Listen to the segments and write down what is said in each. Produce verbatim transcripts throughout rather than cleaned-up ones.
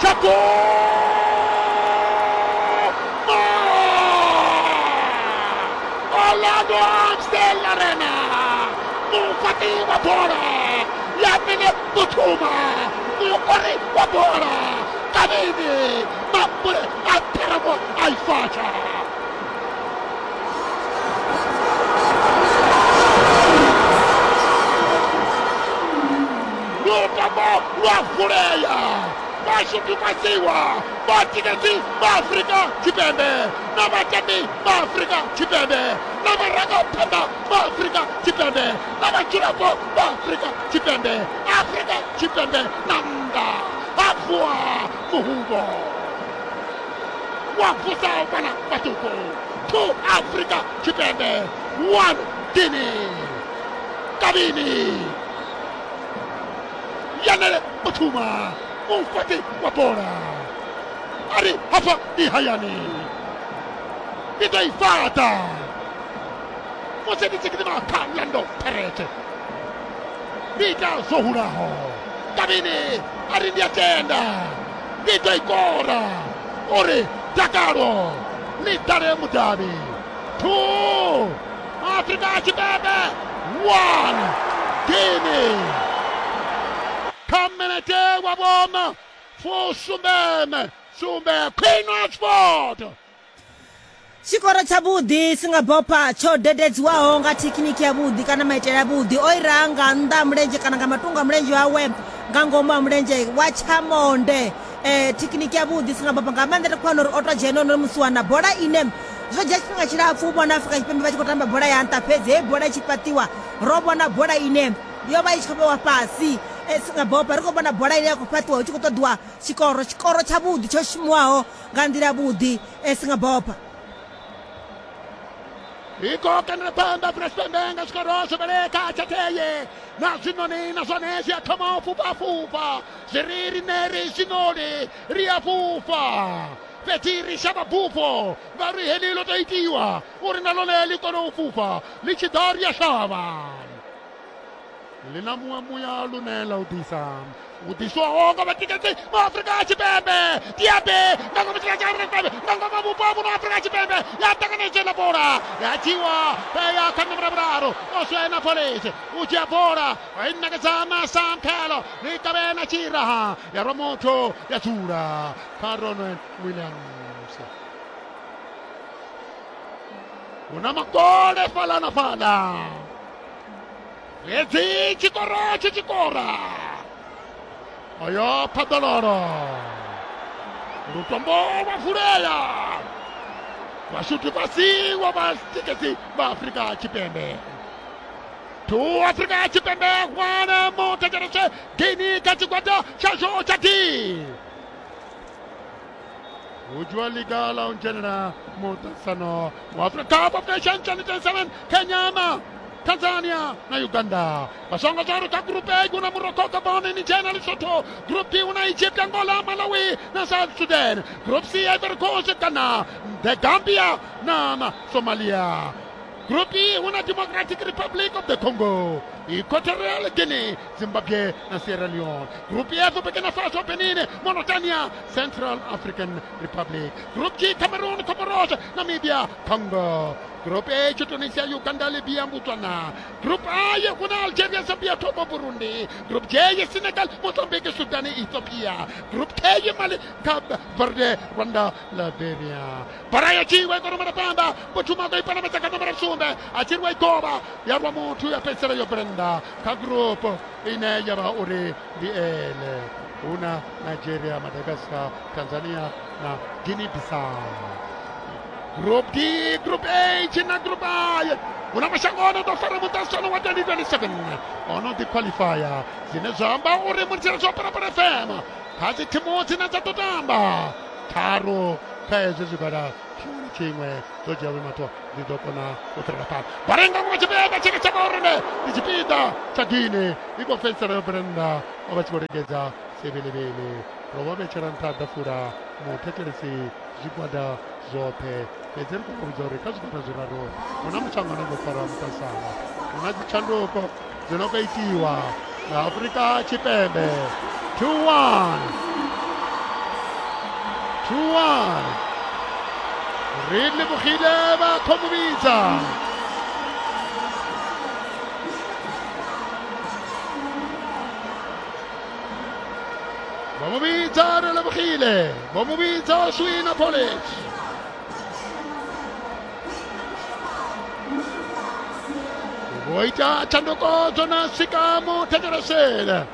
tsha Orlando Amstel Arena mufati wa bola Yamile Mutuma mukori wa bola Kabini Mambule Ateramo Aifacha Lutambo lwa Vashutu Vatiketi Afrika Tshipembe na vatambi va Afrika Tshipembe na varangapanda va Afrika Tshipembe na vadzulapo va Afrika Tshipembe Afrika Tshipembe na nnḓa ha vuwa muhumbo wa vusa vhana vhaṱuku two Afrika Tshipembe one Guinea Kabini Yanele Mutuma mufati wa bola ari hapa ni hayani itaifata musi ndi tshi gidima kha Orlando Pirates ndi ita zwo hulaho Kabini ari ndi a tenda ndi ḓo i kora uri dakalo ḽi ḓale mudavhi two Afrika Tshipembe one Guinea kha minete wa vhona fusumbeme sumbe Queen Oxford Tshikoro tshavhuḓi Singabopha tsho dededziwaho nga thekhiniki yavhuḓi kana maitele avhuḓi o ira nga nnḓa ha mulenzhe kana nga matungo a mulenzhe wawe nga ngomu ha mulenzhe wa tshamonde eh thekhiniki yavhuḓi Singabopha nga maanḓa ri khou wana uri o to dzhena ono musiwana bola ine zwo dzhia tshifhinga tshilapfu u vhona Afrika Tshipembe vha tshi khou tamba bola ya nṱha fhedzi heyi bola i tshi fhaṱiwa ro vhona bola ine yo vha i tshi khou vhewa fhasi Singabopha ri khou vhona bola ine ya khou fhaṱiwa hu tshi khou ṱoḓiwa tshikoro tshikoro tshavhuḓi tsho shumiwaho nga nḓila yavhuḓi Singabopha iko kanela phanḓa Afrika Tshipembe nga tshikoro zwo vheleka tshateye na zwinoni na zwone zwi a thoma u fhufha fhufha zwi ri riṋe ri zwinoni ri a fhufha fhedzi ri shavha bufho ngauri heḽi ḽo tou itiwa uri na ḽone ḽi kone u fhufha ḽi tshi ḓa ri a shavha ḽi na muṅwe muya lune ḽa u ḓisa u ḓiswaho nga vhatikedzi vha Afrika Tshipembe Diaby nga ngomu tshika tsha Afrika Tshipembe nga ngomu vhupo vhuno Afrika Tshipembe ya ṱanganedza ḽa bola ya dzhiwa ya kha nomoro vhuraru Oswena Police u dzhia bola wa i ṋekedza na Sam Khelo ḽi kavhe na tshiraha ya rwa muthu ya dzula kha Ronwen Williams hu na makole fhaḽa na fhaḽa fhedzi tshikoro tshi tshikora oyo phaḓalolo lutombo lwa vulea vhashuti fhasi wa vhatikedzi vha Afrika Tshipembe two Afrika Tshipembe one muthetshelese Guinea kha tshigwada tshashu tsha D u dzhiwa ḽiga ḽa u dzhenela muṱaṱisano wa Africa Cup of Nations twenty twenty-seven Kenya na Tanzania na Uganda vasongo zwauri kha group A kuna Morocco, Gabon, Niger na Lesotho. Group B una Egypt, Angola, Malawi na South Sudan. Group C Ivory Coast, Ghana, the Gambia na Somalia. Group E una Democratic Republic of the Congo, Equatorial Guinea, Zimbabwe na Sierra Leone. Group F Burkina Faso, Benin, Mauritania, Central African Republic. Group G Cameroon, Comoros, Namibia, Congo. Group H Tunisia, Uganda, Libya, Botswana. Group I kuna Algeria, Zambia, Togo, Burundi. Group J Senegal, Mozambique, Sudan, Ethiopia. Group K Mali, Cape Verde, Rwanda, Liberia. Baraya chiwe kwa numero panda, Bochuma kwa ipana metsaka numero sumbe, achirwa ikoba, ya rwa muthu ya fhedzisela yo brenda. Kha group ine ya vha uri ndi L. Huna Nigeria, Madagascar, Tanzania na Guinea Bissau. Group D, Group H na Group I. Huna mashango ono ḓo fara muṱaṱisano wa twenty twenty-seven ono ḓi qualifier zwine zwa amba uri muthetshelesi wa Phalaphala F M kha dzi thimu dzine dza ḓo tamba tharu kha hezwi zwigwada tshiṅwe na tshiṅwe dzo dzhia vhuimato dzi ḓo kona u fhirela phanḓa. Barenga nga tshipembe tshine tsha vha uri ndi tshipiḓa tsha Guinea i khou fhedzisela yo brenda o vha tshi khou lingedza sevilivili ro vha vhetshela nṱha ḓafula muthetshelesi zwigwada zwoṱhe fhedzi ri khou vhudza uri kha zwigwada zwiraru hu na mushango ano ḓo fara muṱaṱisano hu na dzitshanduko dzi no khou itiwa nga Afrika Tshipembe two one. two one. Ri lebogile ba khomubitsa. Bomubitsa re lebogile. Bomubitsa Oswin Appollis. Voita tshanduko dzo na swika muthetshelesele.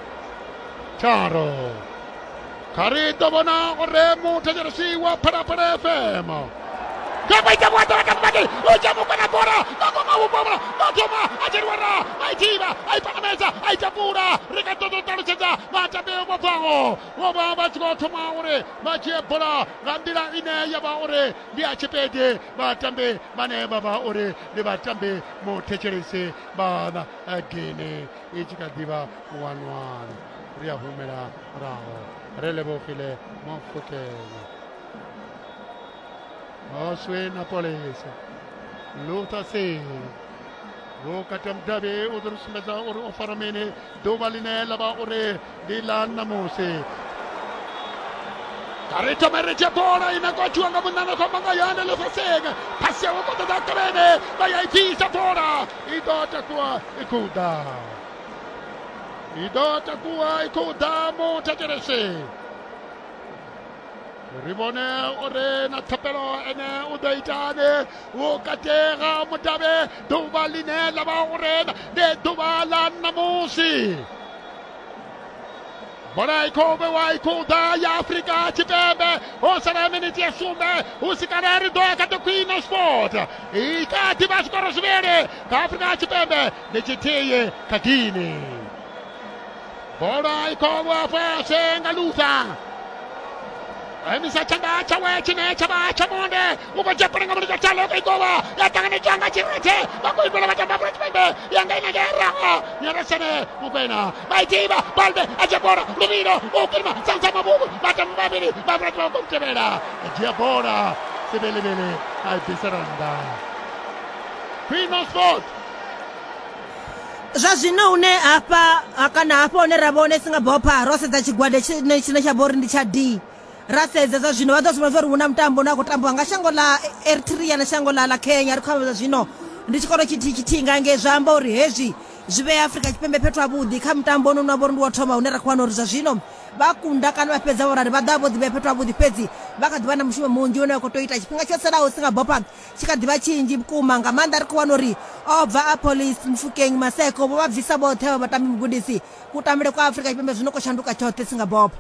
Tharo. Kha ri ḓo vhona uri muthetshelesi wa Phalaphala F M. Kabaita bwata bakati uja mukwana bora ngoma ubora ngoma ajerwara aitiba aipanameza aitapura rikatoto talusedza matambe mobvango ngoba vha tshi khou thoma uri vha dzhie bola nga nḓila ine ya vha uri ndi ya tshipede vhatambi vhane vha vha uri ndi vhatambi muthetshelesi vha Guinea i tshi kha ḓivha one one. Ri a humela murahu re lebogile Mofokeng. Oswin Appollis, Luther Singh vhukati ha mudavhi u ḓo ri sumbedza uri o fara mini ḓuvha ḽine ḽa vha uri ndi ḽa ṋamusi. Kha ri thome ri dzhie bola ine khou dzhiwa nga munna khou manga yone Luther Singh, phasi yawe khou ṱoḓa Kabene vha ya i bvisa bola i ḓo takuwa i khou ḓa, i ḓo takuwa i khou ḓa muthetshelesi. Ri vhone uri na thapelo ene u ḓo itani vhukati ha mudavhi ḓuvha ḽine ḽa vha uri ndi ḓuvha ḽa ṋamusi. Bola i khou vhewa i khou ḓa ya Afrika Tshipembe ho sala miniti ya sumbe hu si kale ri ḓo ya kha the Queen of Sport. I kha ḓi vha zwikoro zwivhili kha Afrika Tshipembe ndi tshithihi kha Guinea. Bola i khou vhewa fhasi nga Luther. Emisa tshanḓa tshawe tshine tsha vha tsha monde u khou dzhia bola nga mulenzhe tshaḽo u khou i kovha ya ṱanganedzwa nga Tshirethe vha khou imela vhatambi Afrika Tshipembe ya nga ina ngeraho Nyaresene Mokoena vha i ḓivha Balde a dzhia bola Luvhilo u kilima Sansa Mabubu vhatambi vhavhili vha Afrika Tshipembe vha khou mutevhela a dzhia bola Sebelebele a i bvisela nnḓa. Queen of Sport. Zwa zwino hune hafha kana hafha hune ra vhone Singapore ro sedza tshigwada tshine tshine tsha vha uri ndi tsha D. Ra sedza zwa zwino vha ḓo sumbedza uri hu na mutambo une wa khou tambiwa nga shango ḽa Eritrea na shango ḽa ḽa Kenya. Ri khou amba zwa zwino ndi tshikoro tshithihi tshithihi nga ngei, zwa amba uri hezwi zwi vhea Afrika Tshipembe fhethu havhuḓi kha mutambo une wa vha uri ndi wo thoma hune ra khou wana uri zwa zwino vha kunda kana vha fhedza vhorali vha ḓo vha vho ḓivhea fhethu havhuḓi, fhedzi vha kha ḓivha na mushumo munzhi une vha khou tea u ita. Tshifhinga tsho salaho Singapore tshi kha ḓivha tshinzhi vhukuma nga maanḓa. Ri khou wana uri o bva Appollis, Mofokeng, Maseko vho vha bvisa vhoṱhe vha vhatambi mugudisi. Kutambele kwa Afrika Tshipembe zwino khou shanduka tshoṱhe Singapore.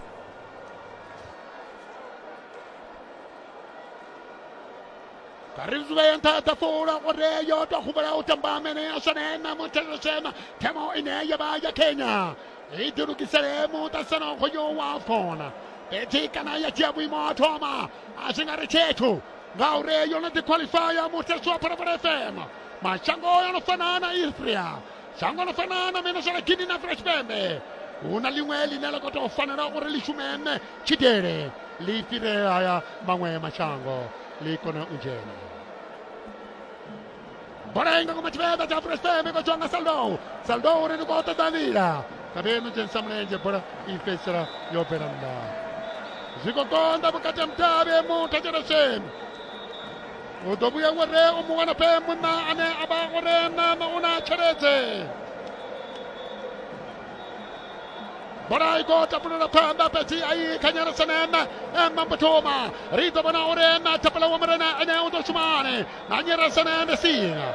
Ri zwi nṱha ṱafula uri yo tou humbula u tamba mene ya sone na muthetshelesema themo ine ya vha ya Kenya i ḓilugisele muṱaṱisano hoyo wa AFCON fhedzi kana ya dzhia vhuimo ha thoma a zwi nga ri tshithu ngauri yo no ḓi qualifya muthetshelesi wa Phalaphala F M. Mashango yo no fana na Eritrea, shango ḽo fana na Venezuela, Guinea na Afrika Tshipembe hu na ḽiṅwe ḽine ḽa khou tou fanela uri ḽi shume tshidele ḽi fhire haya maṅwe mashango ḽi kone u dzhena. Bola inga ngoma tshipembe tsha Afrika Tshipembe khou dzhiwa nga Saldo. Saldo uri ndi khou ṱoḓa nḓila Kabeno dzhenisa mulenzhe bola i fhedzisela yo bvela nnḓa. Zwi khou konḓa vhukati ha mudavhi muthetshelesi. U ḓo vhuya uri u mu wana fhe munna ane a vha uri na u na tshelede. Bola i khou tapulela phanḓa fhedzi a i kha Nyaresene Mambuthuma. Ri ḓo vhona uri na thapela wa murena ene u ḓo shumani na Nyaresene Messina.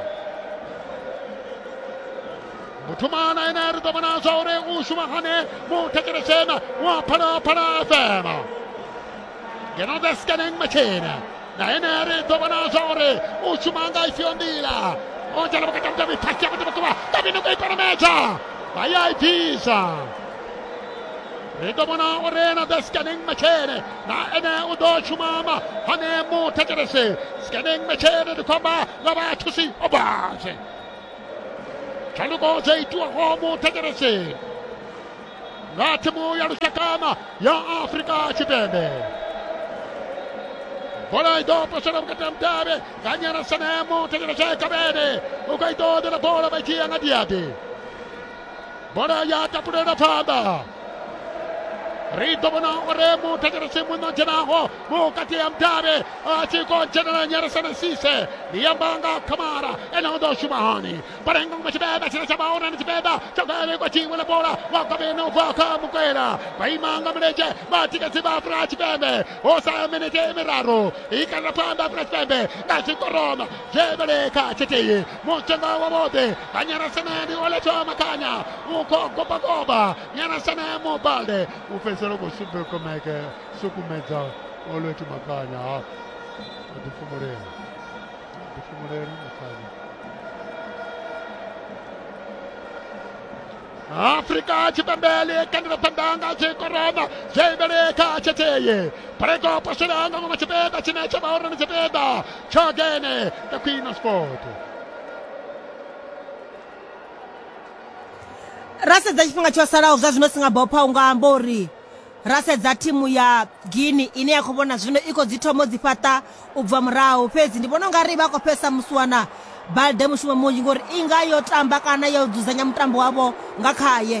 Mbuthuma na ene ri ḓo vhona zwa uri u shuma hani muthetshelesena wa Phalaphala F M. Ngeno the scanning machine na ene ri ḓo vhona zwa uri u shuma nga ifhio nḓila. O dzhena vhukati ha mudavhi phasi ya vhukuma Kabino khou i paramedza vha ya i bvisa. Ri ḓo vhona uri na the scanning machine na ene u ḓo shumama hane muthetshelesi. Scanning machine ndi khou amba nga vhathusi obase. Tshanduko dzo itiwaho muthetshelesi nga thimu ya lushakama ya Afrika Tshipembe. Bola i ḓo posela vhukati ha mudavhi nga Nyaresene muthetshelesi Kabene u khou i ṱoḓela bola vha i dzhia nga Diaby. Bola ya tapulela phanḓa. Ri ḓo vhona uri muthetshelesi muno dzhenaho vhukati ha mudavhi a tshi khou dzhenela Nyarisana Sise ndi amba nga Kamara ene u ḓo shuma hani Barenga ngoma tshibeba tshine tsha vha hone tshibeba tsha gavhe kwa tshiṅwe ḽa bola wa gavheni u bva kha Mukwela vha ima nga milenzhe vhatikedzi vha Afrika Tshipembe ho sala minete miraru i kanda phanḓa Afrika Tshipembe nga tshikoroma zhebeleka tshithihi mutshenga wa vhoṱhe vha Nyarasana ndi Oletsho Makhanya u khou gobagoba Nyarasana Mobalde u fhedzisela u khou sukumeke sukumedza Olwethu Makhanya a ḓifumulela ḓifumulela Makhanya. Afrika Tshipembe ḽi kandela phanḓa nga tshikoroma zhebeleka tshithihi Prego posela nga ngoma tshipembe tshine tsha vha hone ndi tshipembe tsha Gene the Queen of Sport. Ra sedza tshifhinga tsho salaho zwa zwino Singabopha u nga amba uri ra sedza thimu ya Guinea ine ya khou vhona zwino i khou dzi thomo dzi fhaṱa u bva murahu, fhedzi ndi vhona ungari vha khou fhesa musiwana Balde mushumo munzhi ngori i nga yo tamba kana yo dzudzanya mutambo wavho nga khaye.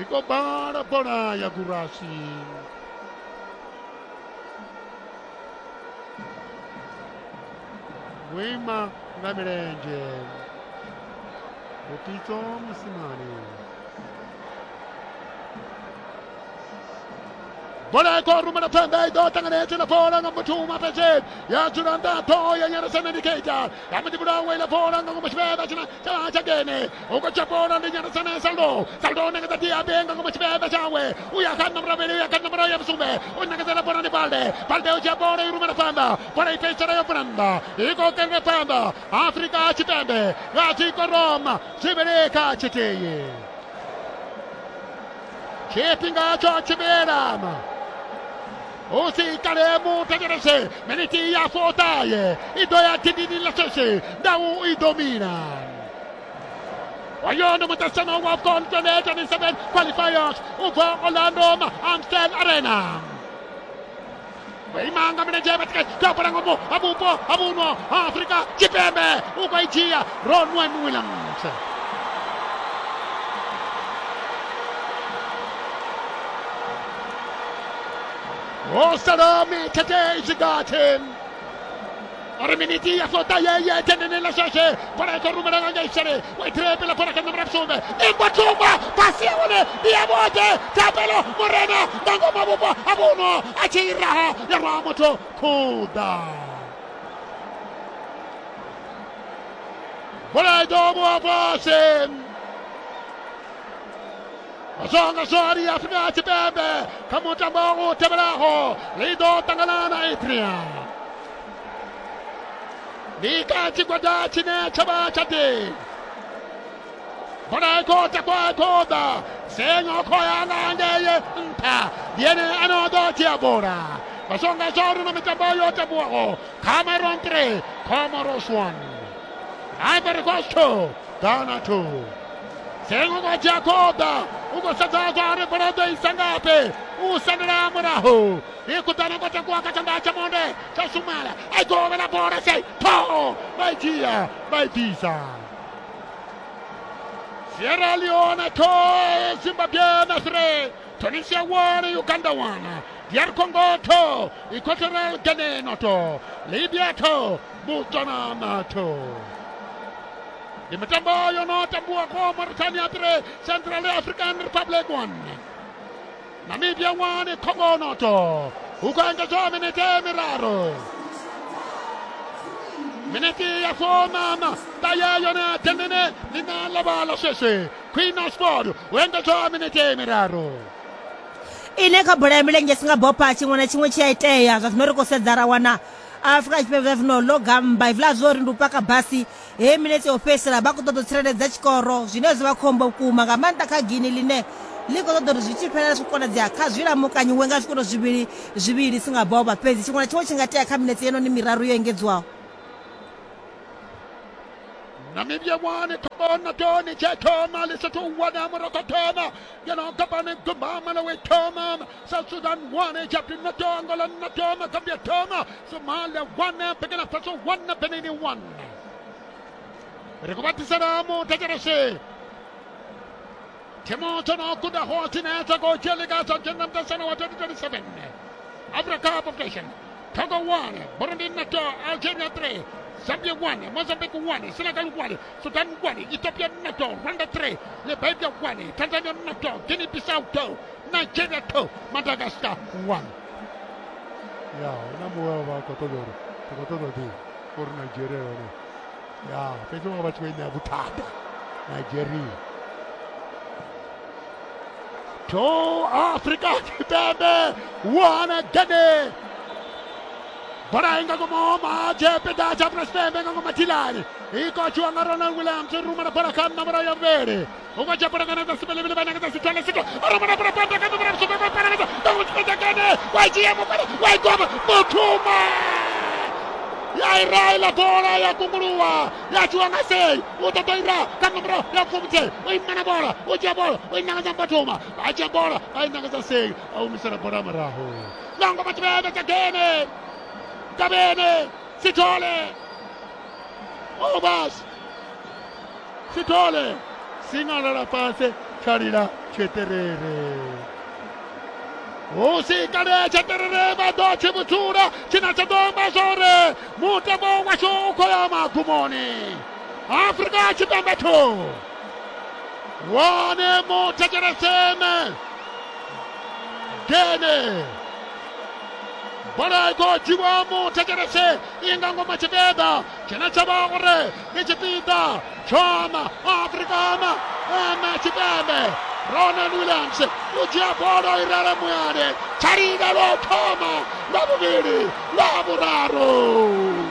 I khou bala bola ya Gurasi. Wima nga milenzhe Bopitso Mosimane. Bola i khou rumela phanḓa i ḓo ṱanganedzwa na bola nga muthu mapedzeni ya dzula nṱha ṱhoho ya Nyarasana ndi Keita ya mudivhulawe ila bola nga ngomu tshipembe tshine tsha tsha Gene u khou tsha bola ndi Nyarasana Saldo Saldo ṋekedza Diaby nga ngomu tshipembe tshawe u ya kha nomoro ya kha nomoro ya vhusumbe u ṋekedzela bola ndi Balde Balde u dzhia bola i rumela phanḓa bola i fhedzisela yo bvula nnḓa i khou kenda phanḓa Afrika Tshipembe nga tshikoroma zwivhili kha tshithihi tshifhinga tsho tshivhelama usi kale muthetshelese miniti ya fotaye i ḓo ya dindini ḽa sheshe ndau i ḓo mina. Oyo ndi muṱaṱisano wa AFCON twenty twenty-seven qualifiers u bva Orlando Amstel Arena. Vha nga milenzhe vhatikedzi kha bola ngomu ha vhupo ha vhuno ha Afrika Tshipembe u khou i dzhia Ronwen Williams. Osala mitete izigati ori miniti ya flota ye ye tenene la sheshe bola i khou rumela nga ngei sele wa itrebela bola kha nomoro ya vhusumbe ingwa thumba pasi ya hone ndi ya vhoṱhe Thapelo Morena nga ngoma vhupo ha vhuno a tshi i raha ya rwa muthu khuḓa bola i ḓo vhuwa fhasi. Songa zwari Afrika Tshipembe kha mutambo u tevhelaho ḽi ḓo ṱangana na Eritrea. Ndi kha tshigwada tshine tsha vha tsha D. Bola i khou takwa i khou ḓa Sengo khou ya nga ngei nṱha ndi ene ano ḓo dzhia bola. Songa zwari na mitambo yo tambiwaho Cameroon three Comoros one Ivory Coast two Ghana two. Sengo kwa Jacoba uko sedza zwari bola ḓo isa ngafhi u sendela murahu i kuḓana kwa takuwa kha tshanḓa tsha monde tsha Sumala a i govhela bola sei ṱhoho vha i dzhia vha i bvisa. Sierra Leone two Zimbabwe three Tunisia one Uganda one D R Congo two Equatorial Guinea two Libya two Botswana two. Ndi mitambo yo no tambiwaho Mauritania three Central African Republic one Namibia one Congo noto hu khou engedzwa minete miraru minete ya fomama ṱahe yone dendene ḽine ḽa vha ḽa sweswe Queen of Sport hu engedzwa minete miraru. Ine kha bola ya milenzhe Singabopha tshiṅwe na tshiṅwe tshi a itea zwa zwino ri khou sedza ra wana Afrika Tshipembe zwa zwino ḽo gamba hezwiḽa zwo ri ndi u paka basi he minetse yo fhedzisela vha khou ṱoḓa u tsireledza tshikoro zwine zwi vha khombo vhukuma nga maanḓa kha Guinea ḽine ḽi khou ṱoḓa uri zwi tshi fhela zwi konadzea kha zwi lamukanyiwe nga zwikoro zwivhili zwivhili Singabopha, fhedzi tshiṅwe na tshiṅwe tshi nga tea kha minetse yenoni miraru yo engedzwaho. Namibia one Congo noto Niger thoma Lesotho one Morocco thoma ngeno Gabon gumba Malawi thoma South Sudan one Egypt noto Angola noto Gambia thoma Somalia one Burkina Faso one Benin one. Ri khou vha ḓisela muthetshelesi thimu dzo no gudaho dzine dza khou dzhia ḽiga dza dzhena muṱaṱisano wa twenty twenty-seven Africa Cup of Nations. Togo one, Burundi two, Algeria three, Zambia one, Mozambique one, Senegal one, Sudan one, Ethiopia two, Rwanda three, Liberia one, Tanzania two, Guinea-Bissau two, Nigeria two, Madagascar one. Ya, na muwe wa khou ṱoḓa uri ri khou ṱoḓa ḓi uri Nigeria yone ya fhedzi vha vha tshi khou i ṋea vhuthada Nigeria. Two Afrika Tshipembe one Guinea. Bola inga ngoma tshipiḓa tsha Afrika Tshipembe nga ngoma thilani i kotshiwa nga Ronald Williams rumela bola kha nomboro ya vhuvhili u khou dzhia bola nga nanga sibelebele vha nanga sithole sitho rumela bola phanḓa kha nomboro ya vhusumbe vha nanga nga tshipiḓa Guinea wa dzhia mukwana wa igoma Mutuma ya ira ila bola ya kunguluwa ya tshiwa nga sei u ṱoḓa ira kha nomboro ya fumuthe u imana bola u dzhia bola u inangedza Mbatuma a dzhia bola a inangedza sei a humisela bola murahu nga ngoma tshipembe tsha Guinea. Kabene Sithole Obas Sithole singalala fhasi tshalila tsheterere usikale tsheterere vha ḓo tshi vhudzula tshina tsha ḓo amba zwore mutambo washu u khou ya magumoni. Afrika Tshipembe two one muthetsheleseme Guinea. Bola i khou dzhiwa muthetshelese i nga ngoma tshipiḓa tshine tsha vha uri ndi tshipiḓa tshoma Afrika ama ama Tshipembe. Ronald Williams u dzhia bola i rala muyani tshalila lwa u thoma lwa vhuvhili lwa vhuraru.